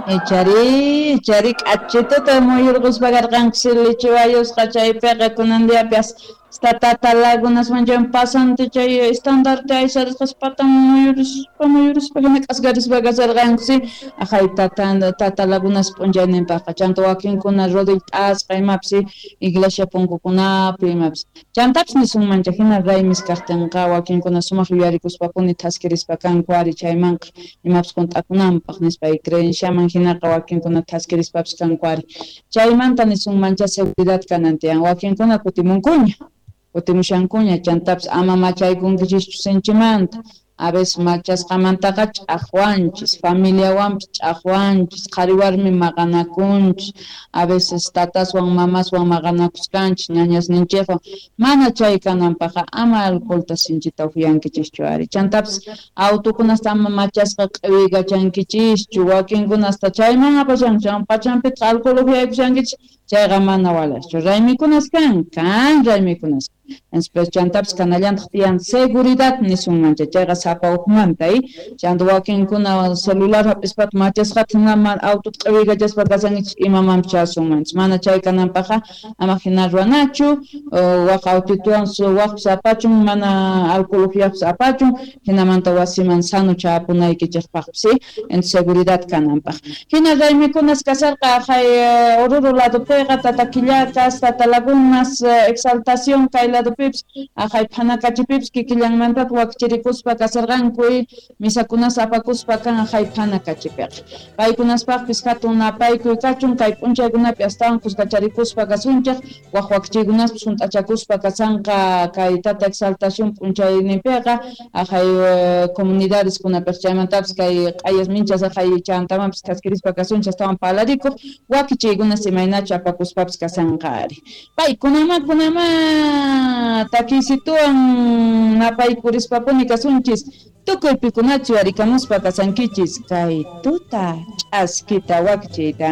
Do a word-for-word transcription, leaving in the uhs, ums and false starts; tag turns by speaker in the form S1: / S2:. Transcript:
S1: Ichari, ichari k'achituta muyurquspa karqanku lichiwayusqa chaypiqa kunan diapi hasta Tata Lagunasman chay pasante chay estandarte aysarisqas patan muyurispa muyurispa hina k'asqarispa kasarqanku si aqhay tata Tata Lagunas p'unchayninpaqqa chanta wakinkuna rodil t'asqa imapis iglesia punkukunapi imapis chantapis nisunmancha hina raymis kaqtinqa wakinkuna sumaq yuyarikuspapuni thaskirispa kanku ari chaymanqa imapis hunt'akunanpaq nispa creenciaman hinaqa wakinkuna thaskirispapis kanku ari chaymanta nisunmancha seguridad kanan tiyan wakinkuna kutimunkuña kutimushankuña chantapis ama machaykunkichischu sinchimanta a veces machasqamantaqa ch'aqwanchis familiawanpis ch'aqwanchis qhari warmi maqanakunchis a veces tataswan mamaswan maqanakusqanchis ñañasninchikwan mana chay kananpaqqa ama alcoholta sinchita upyankichischu ari chantapis autokunasta ama machasqa q'iwiykachankichishchu wakinkunasta chayman apashankichis pachanpitaq alcohol upyaykushankichis chayqa mana walaqchu raymikunas kan kan raymikunas entonces chantapis kanallantaq tiyan seguridad nisunmancha chayqa sapa uqmanta chanta wakinkuna celular hap'ispata machasqata hina autota q'iwiykachaspa kasankichis imamanpis chasunmanchis mana chay kananpaqqa ama hina ruwanachu waq autituwan waqpis apachun mana alcohol upyaqpis apachun hinamanta wasiman sano chapunaykichikpaqpis entonces seguridad kananpaq hina raymikunas kasarqa aqhay Oruro ladopiqa Tata Quillacas, Tata Lagunas, Exaltación kay ladopipis aqhay phanakachipipis kikillanmantata wakichirikuspa kasarqanku misakunas apakuspa kan aqhay phanakachipiqa paykunaspaqpis hatun napaykuy kachun kay p'unchaykunapi astawan kuskacharikuspa kasunchik waq wakichiykunaspis hunt'achakuspa kasanqa kay Tata Exaltación p'unchayninpiqa aqhay comunidadeskunapiq chaymantapis kay q'ayas minchas aqhay chantamanpis thaskirispa kasunchik astawan parlarikuq wakichiykunas imaynachu apakuspapis kasanqa ari paykunama kunama takiysituwan napaykurishpapuni kasunchis tukuy pikunachu yarikamuspa kasankichis kay tuta ch'askita wakichiyta.